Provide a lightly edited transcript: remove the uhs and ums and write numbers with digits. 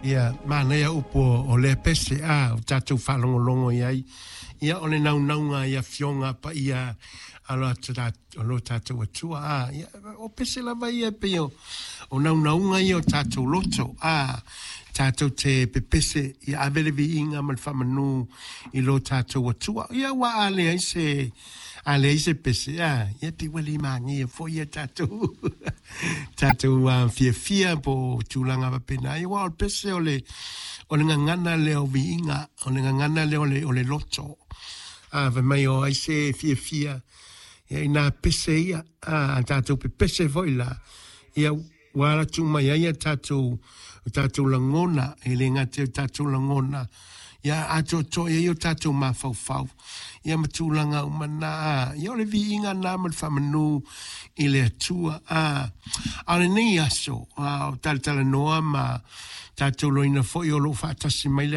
Ia, manaia upu o lea pese, a, o tatou faalogologo i ai. Ia, o le naunauga i afioga paia a lo tatou Atua, a, ia, o pese lava ia e pei o naunauga ia o tatou loto, a, tatou te pepese, ia ave le viiga ma le faamanu i lo tatou Atua. Ia, aua a leai se, a leai se pese, a, ia pei ua le magia foi ia tatou, tatou fiafia po o tulaga faapena. Ia, aua o le pese o le, o le gagana lea o viiga, o le gagana lea o le loto. A, fai mai o ai se fiafia, ia inā pese ia, a tatou pepese foi la, ia ua ala atu mai ai o tatou lagona, e le gata i o tatou lagona, ia atoatoa i ai o tatou mafaufau, ia ma tulaga uma na, ia o le viiga na ma le faamanu i le Atua. A o lenei aso, o talatalanoa ma tatou loina foi o loo faatasi mai le